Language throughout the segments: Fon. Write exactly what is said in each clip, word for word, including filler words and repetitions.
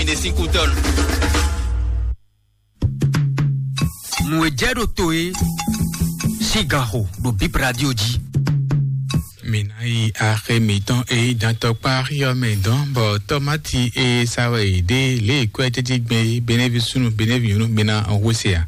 Ine sín kútɔ́nu. Nǔ e jɛ ɖo to e sín gan xo ɖo Bib Radio jí. Mi ná yi axé mǐtɔn e nyí dantɔkpá xyɔ́ mɛ dɔn, bɔ tɔmati e sa wɛ è ɖe lě e kwɛ́ jɛjí gbɛn é, Benevi súnnu, Benevi nyɔ̌nu, mi ná hwesé a?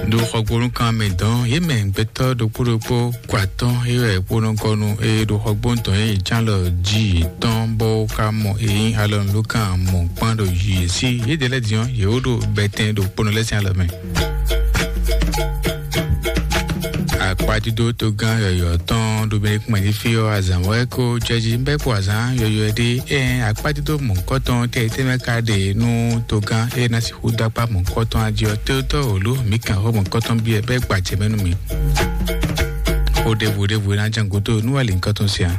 Ɖo xɔgbónúkan mɛ dɔn, yě mɛ gbɛtɔ́ ɖokpó ɖokpó kɔ atɔ́ é wɛ kpónɔgɔnu e ɖo xɔgbónu tɔn e ján lɔ jí yětɔn, bó ka mɔ e nyí alɔnulókan mɔ̌kpán ɖo yě sí. Yědɛɛ lɛ́ɛ din ɔ́, yě wó ɖo bɛtɛn ɖo kpónɔ lɛ́ɛ sín alɔ mɛ. Akpájúdó togán yɔ̌yɔ́ tɔn ɖo mɛ kpɛn jí fí ɔ́, azǎn wɛ kó jɛjí bɛ́ kpo azǎn yɔ̌yɔ́ ɖé. Ɛn akpájúdó mɔ̌kɔtɔn tɛ tɛ́ mɛ ka ɖe nú togán e ná sixú dó akpá mɔ̌kɔtɔn ají ɔ́, tótɔ́ wǒ lú mǐ kàn xó mɔ̌kɔtɔn byɔ́ bɛ́ gba jɛ mɛ nú mì. Xó ɖěvo ɖěvo e ná jɛ́n gúdo nú wɛ lǐnkɔ́tɔn sia.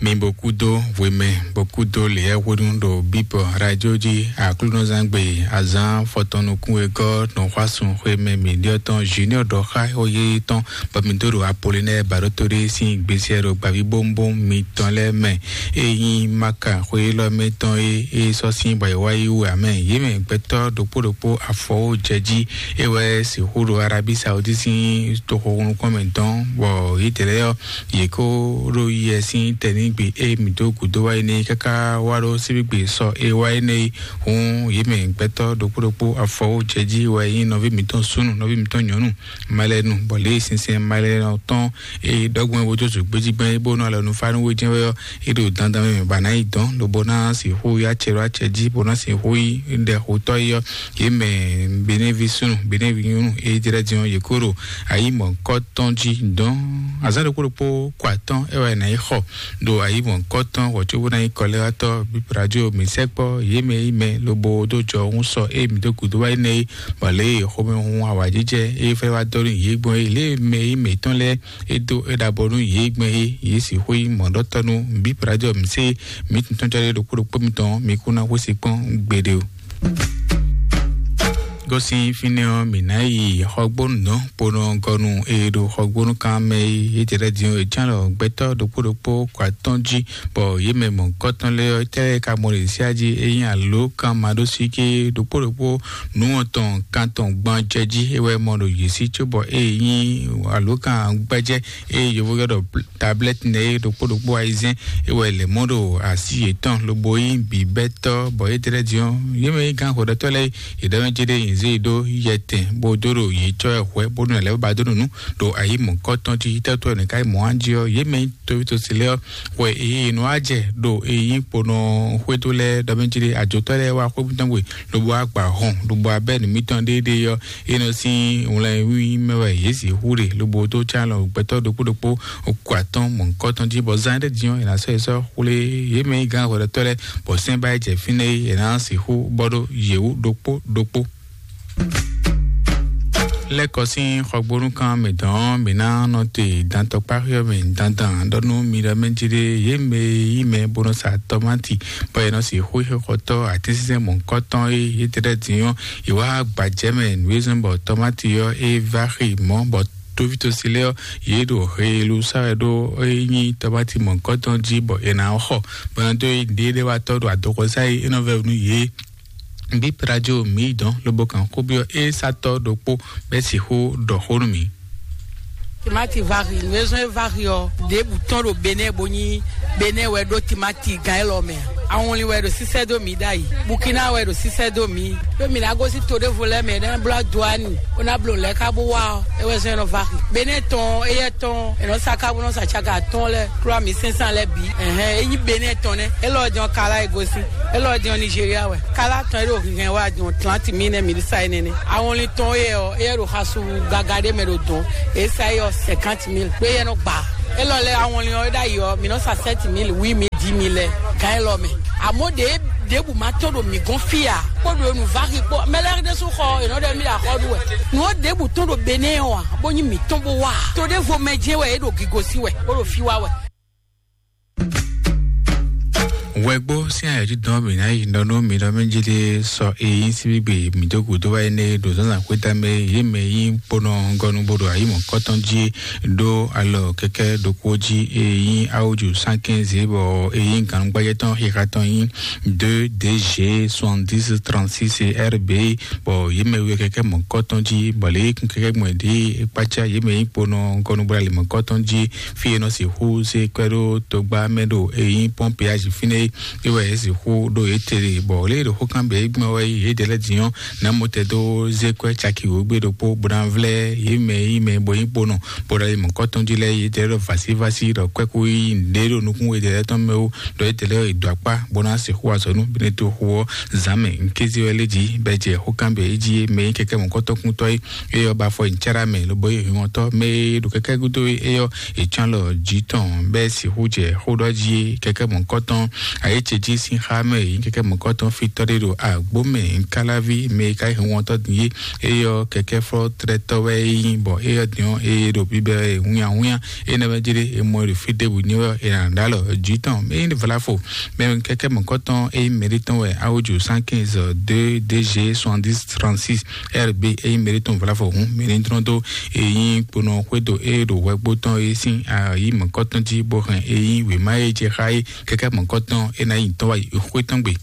Mi bo kúdó hwemɛ, bo kúdó lěyɛ́hwenu ɖo bíbɔ radio jí aklúnɔzángbe azǎn fɔtɔn nukún e gɔ́ nɔxwásún xwemɛ mǐɖyɔ́ tɔn Junior ɖɔ xá xó yéyé tɔn, bɔ mi dó ɖo Apolinɛ́ɛ Baɖótó ɖé sín gbesɛ ɖo gbavǐbówúnbówún mitɔn lɛ́ɛ mɛ. E nyí Maka xwe élɔ́ mɛ tɔn e é sɔ́ sín bɔ è wá yi wú ǎ mɛ. Yě mɛ gbɛtɔ́ ɖokpó ɖokpó afɔwó jɛ jí, é wɛ sixú ɖo Arabí Saudi sín toxo nukɔn mɛ dɔn, bɔ yědɛɛ lɛ́ɛ ɔ́, yě kó ɖo yɛ sín tɛnígbe e mǐ dó gǔdo wá é nɛ́ káká wá ɖó síbígbe sɔ e wá é nɛ́. Hǔn yě mɛ gbɛtɔ́ ɖokpó ɖokpó afɔwó jɛ jí wɛ nyí nɔví mǐtɔn súnnu, nɔví mǐtɔn nyɔ̌nu, malɛnu, bɔ lě e sinsɛn malɛnu tɔn e ɖɔgbɛ́n wodzozu gbéjígbɛ́n e bó nɔ alɔ nú fá nú wé jɛ́n wɛ ɔ́, é ɖo dandan mɛ bɔ a nǎ yi dɔn, lobo ná sixú yi acɛ ɖo acɛ jí, bó ná sixú yi ɖɛ xotɔ́ yi ɔ́, yě mɛ Benevi súnnu, Benevi nyɔ̌nu e jlɛ́ din ɔ́, yě kó ɖo ayǐ mɔ̌kɔ́ tɔn jí dɔn. Azǎn ɖokpó ɖokpó kɔ atɔ́ é wɛ è nǎ yi xɔ ɖo ayǐ mɔ̌kɔ́ tɔn hwɛ̌ cóbó ná nyí kɔlɛ́wátɔ́ bíbradio mǐ sɛkpɔ́ yě mɛ yi mɛ lobo dó jɔ hún sɔ e mǐ dó gǔdo wá yi nɛ́ é, bɔ lě e xomɛhun awǎjijɛ e fɛ́ wá dɔ́ nú yě gbɔn é, lě e mɛ yi mǐtɔn lɛ́ɛ e dó é ɖabɔ nú yě gbɛn é, yě sixú nyí mɔ̌ɖɔtɔ́ nú bíbradio mǐ sé mǐ tɔn cɔ́ ɖé ɖokpó ɖokpó mitɔn, mi kún ná xwé sí kpɔ́n gbeɖé o. Gosín fínɛ́ ɔ́, mǐ ná yi xɔgbónu dɔn ponɔ gɔnu e ɖo xɔgbónu kan mɛ é, yě jɛ lɛ́ din é ján lɔ gbɛtɔ́ ɖokpó ɖokpó kɔ atɔ́n jí, bɔ yě mɛ mɔ̌kɔtɔn lɛ́ɛ ɔ́, tɛ́ lɛ́ɛ ka mɔ ɖě síá jí é nyí alǒ kan maɖósíké ɖokpó ɖokpó nǔ wɔntɔn kan tɔn gban jɛ jí é wɛ mɔ ɖo yě sí cóbɔ é nyí alǒ kan gbɛ́jɛ́ e yovó ylɔ́ ɖɔ tablɛ́ti nɛ́ é ɖokpó ɖokpó ayizɛ́n é wɛ lɛ̌ mɔ ɖo así yětɔn lobo nyí bǐbɛ́tɔ́, bɔ yě tlɛ́ din ɔ́, yě mɛ nyí gán xwɛɖɔtɔ́ lɛ́ɛ yě ɖɔ mɛ jí ɖé yě zé yi ɖó yɛtɛn bó dó ɖo yě cɔ́ ɛ hwɛ̌ bónú ɛ lɛ́ ba dó nǔ ɖo ayǐ mɔ̌kɔ́tɔn jí. Tɛ́tɔ́ ɛnɛ ka yi mɔ̌ á jí ɔ́, yě mɛ nyí tovítɔ́si lɛ́ɛ ɔ́, hwɛ èyí è nɔ wá jɛ ɖo èyí kponɔ xwédo lɛ́ɛ ɖɔ mɛ jí ɖé ajotɔ́ lɛ́ɛ wá xwé mítɔn gbe lobo wá gba hɔn lobo wá bɛ́ nǔ mítɔn ɖéeɖée ɔ́, é nɔ sín wlɛnwí mɛ wɛ yě sixú ɖe lobo dó cá lɔ gbɛtɔ́ ɖokpó ɖokpó kɔ atɔ́n mɔ̌hunkɔtɔn jí, bɔ zán ɖé din ɔ́, è nǎ sɔ́ yě sɔ́ xwlé yě mɛ nyí gǎn hwɛɖɔtɔ́ lɛ́ɛ, bɔ sɛ́n ba yi jɛ fínɛ́ é, è nǎ sixú bɔ ɖó yě wú ɖokpó ɖokpó. Lɛ́kɔ sín xɔgbónúkan mǐtɔn ɔ́, mǐ ná nɔ te dantɔkpáxi ɔ́ mɛ dandan ɖɔ nú mi ɖɔ mɛ jí ɖé, yě mɛ e yí mɛ bó nɔ sa tɔmáti, bɔ è nɔ sixú xixɔtɔ́ atínsínsɛ́n mɔ̌hunkɔtɔn e yě tlɛ din ɔ́, è wá gbajɛ mɛ nǔ e zɔ́n bɔ tɔmáti ɔ́ é vá xi mɔ̌, bɔ tóvítósi lɛ́ɛ ɔ́, yě ɖo heelu sa wɛ ɖó é nyí tɔmáti mɔ̌hunkɔtɔn jí, bɔ è nǎ xɔ, bɔ è nɔ dó yi ɖěɖéwatɔ́ ɖo adɔkɔsá e é nɔ vɛ nú yě. Bí Prajo mǐ dɔn lobo kan xó byɔ́ é satɔ́ ɖokpó bɛ́ sixú ɖɔ xó nú mǐ. Timati vari, nǔ e zɔ́n é vari ɔ́, ɖěbǔ tɔn ɖo Benɛ́ bo nyí Benɛ́ wɛ ɖó timati gǎn élɔ́ mɛ. Awɔnlin wɛ ɖo sísɛ́ dó mǐ ɖ'ayǐ. Bukina wɛ ɖo sísɛ́ dó mǐ. Ɖó mǐ ná gosín to ɖěvo lɛ́ɛ mɛ, é ná bló aduani, bó ná bló nǔ lɛ́ɛ ká bó wá ɔ́, é wɛ zɔ́n é nɔ vari. Benɛ́ tɔn, éyɛ́ tɔn, è nɔ sa ká bó nɔ sa caka atɔ́ɔ́n lɛ́ɛ, klɔ́ mǐ sɛ́nsán lɛ́ɛ bǐ. Ɛhɛn, é nyí Benɛ́ tɔn nɛ́. Élɔ́ din ɔ́, Kala e gosín. Élɔ́ din ɔ́, Nigéria wɛ. Kala tɔn e ɖo hinhɛn wɛ a din ɔ́, trente mille nɛ́ mǐ sa énɛ́ nɛ́. Awɔnlin tɔn éyɛ́ ɔ́, éyɛ́ ɖo xasu gaga ɖé mɛ ɖo dɔ̌n. È sa é ɔ́, cinquante mille. Ɖó éyɛ́ nɔ gbǎ. Élɔ́ lɛ́ɛ awɔnlin ɔ́, é ɖ'ayǐ ɔ́, mǐ nɔ sa sept mille, huit mille, dix mille lɛ́ɛ. Gǎn élɔ́ mɛ. Àmọ́ ɖě ɖěbǔ ma tɔ́n ɖo mǐ gɔ́n fí ǎ. Kpó ɖo nǔ va xi kpó. Mɛ lɛ́ɛ ɖésú xɔ è nɔ ɖɔ mì ɖo axɔ́ ɖu wɛ. Nǔ ɔ́ ɖěbǔ tɔ́n ɖo Benɛ́ ɔ́ ǎ, bó nyí mǐtɔn bó wá ǎ. To ɖěvo mɛ jɛ́n wɛ é ɖo gigo sí wɛ, bó ɖo fí wá wɛ. Wɛgbó sín ayɔ̀jidɔn mǐ ná yi nɔ nú mi nɔ mɛ jí ɖé sɔ eyín síbígbe mǐ dó gǔdo wá énɛ́ ɖo zǎnzǎn xwéta mɛ yě mɛ yí kponɔ gɔnu bó ɖo ayǐ mɔ̌kɔtɔn jí ɖó alɔ kɛkɛ ɖokpó jí eyín awoju cent quinze bɔ eyín gǎngbájɛ tɔn xixa tɔn yí deux D G soixante-dix trente-six R B bɔ yě mɛ wɛ kɛkɛ mɔ̌kɔtɔn jí bɔ lě kún kɛkɛ gbɔn ɖě kpácá yě mɛ yí kponɔ gɔnu bó ɖo alǐ mɔ̌kɔtɔn jí fí e nɔ sixú se kwɛ́ ɖó togba mɛ ɖo eyín pɔ́npeyázi fínɛ́ é wɛ é sixú ɖó yě tere bɔ lě e ɖo xó kan bɛ é gbɛn wɛ yě ɖe lɛ́ din ɔ́, ná mɔ tɛ dó zé kwɛ́ caki wǒ gbé ɖokpó bó ná vlɛ́ yě mɛ yí mɛ bɔ nyí kponɔ bó ɖo alǐ mɔ̌kɔtɔn jí lɛ́ɛ yě ɖe lɛ́ ɖɔ vǎsívásí ɖɔ kwɛ́ kú yí nǔɖé ɖo nukún yě ɖe lɛ́ tɔn mɛ ó ɖɔ yě ɖe lɛ́ ɖɔ è dǒ akpá bó ná sixú azɔ̌ nú Beneto xu ɔ́ zǎn mɛ nkézí wɛ lé jí bɛ jɛ xó kan bɛ é jí mɛ nyí kɛkɛ mɔ̌kɔtɔn kúntɔ́ é. Eye ɔ́ ba afɔ nyi cára mɛ lobo yi hwinwɔntɔ́ mɛ e ɖo kɛkɛ gúdo é ɔ́, è cán lɔ jǐ tɔn bɛ́ sixú jɛ xó ɖɔ jí kɛkɛ mɔ̌kɔtɔn ayé ce jí sín xá mɛ yi kɛkɛ mɔ̌kɔtɔn fítɔ́ ɖé ɖo agbó mɛ nkáláví mɛ e ka yi hwinwɔntɔ́ din é. Eye ɔ́ kɛkɛ flɔ́ tlɛtɔ́ wɛ é nyí bɔ eye ɔ́ din ɔ́ eye ɖo bíbɛ wɛ hunnyahunnya é nɛ́ wɛ jí ɖé è mɔ e ɖo fí ɖěbǔ nyí wɛ è nǎ ɖó alɔ jǐ tɔn mɛ é nyí vlafo mɛ kɛkɛ mɔ̌kɔtɔn é nyí mɛɖé tɔn wɛ awojo cent quinze deux D G soixante-dix trente-six R B é nyí mɛɖé tɔn vlafo hun mɛ ní tlɔ́n dó é nyí kponɔ xwédo é ɖo hwɛgbó tɔn é sín ayǐ mɔ̌kɔtɔn jí bó hɛn é nyí wěma é jɛ xá é kɛkɛ mɔ̌kɔtɔn é ná yi tɔn wá yi xwé tɔn gbe.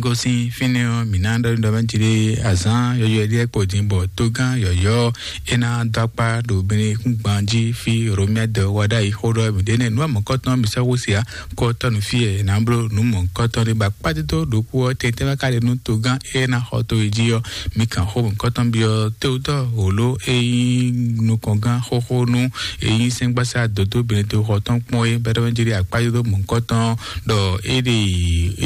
Gosín fínɛ́ ɔ́ mǐ ná ɖɔ ɖɔ mɛ jí ɖé azán yɔyɔ ɖíɛ kpó dín bɔ tógán yɔyɔ é ná dó akpá ɖo bɛnɛ kúngban jí fí romia dɔ wá ɖ'ayǐ xó ɖɔ mǐ ɖe nɛ nú amɔ̌kɔtɔn mǐ sɔ́ xó sia kɔtɔnu fí ɛ ná bló nú mɔ̌kɔtɔn ɖé ba kpátídó ɖokpó ɔ́ tɛntɛn wá ka ɖe nú tógán é ná xɔ tó yi jí ɔ́. Mi kàn xó mɔ̌kɔtɔn byɔ́ tótɔ́ wǒló é nyí nukɔngán xóxó nú é nyí sɛ́ngbásá dǒdó Beneto xɔ tɔn kpɔ́n é bɛ́ɖɔ́ jí ɖé akpátídó mɔ̌kɔtɔn ɖɔ é ɖe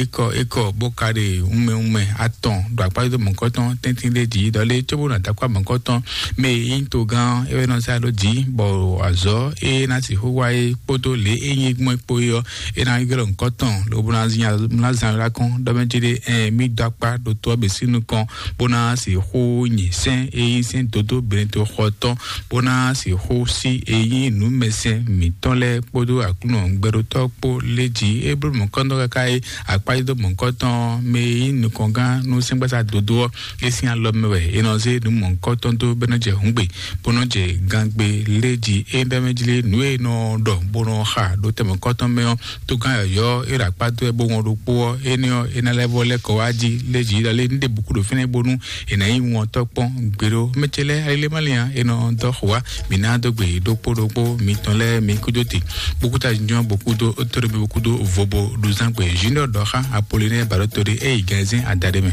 ékɔ ékɔ bó ka ɖe wunmɛ wunmɛ atɔn ɖo akpátídó mɔ̌kɔtɔn tɛ́ntin ɖé jí ɖɔ lé cóbó nɔ dó akpá mɔ̌kɔtɔn mɛ é nyí togán é wɛ nɔ zá ɖó jí bɔ azɔ̌ é ná sixú wá é kpódó lě é nyí gbɔn é kpó é ɔ́ é ná ylɔ́ nǔkɔ tɔn lobo ná zin ná zan lá kɔn ɖɔ mɛ jí ɖé ɛ mí dó akpá ɖo tó ɔ́ bǐ sín nukɔn bó ná sixú nyi sɛ́n é nyí sɛ́n dódó Beneto xɔ tɔn bó ná sixú sí é nyí nǔmɛsɛn mǐtɔn lɛ́ɛ kpódó Aklúnɔ gbɛɖotɔ́ kpó lé jí é bló mɔ̌kɔntɔn káká é akpájúdó mɔ̌kɔntɔn mɛ é nyí nukɔngán nú sɛ́ngbásá dodó ɔ́ é sín alɔ mɛ wɛ é nɔ zé nǔ mɔ̌kɔntɔn dó bɛ́ nɔ jɛ hǔngbe bó nɔ jɛ gangbe lé jí é bɛ́ mɛ jí lé nǔ e nɔ ɖɔ bó nɔ xa ɖó tɛmɛ kɔ́tɔn mɛ ɔ́ tógán yɔ̌yɔ́ é ɖo akpá dó wɛ bó wɔn ɖokpó ɔ́ énɛ́ ɔ́ é ná lɛ́ vɔ lɛ́ kɔ wá jí lé jí ɖɔ lé ní ɖe bǔkú ɖo fínɛ́ bónú è nǎ nyí wɔntɔ́ kpɔ́n gbeɖó mɛ ce lɛ́ɛ alilé má lin ǎ è nɔ dɔ́ xo wá mǐ ná dó gbe ɖokpó ɖokpó mitɔn lɛ́ɛ mi kúdó te bókútà jínjɔ́n bókúdó tóɖébi bókúdó vobo ɖuzángbe junior dɔxa apolinɛ baɖótoɖé eyi gɛnzɛn adaɖé mɛ.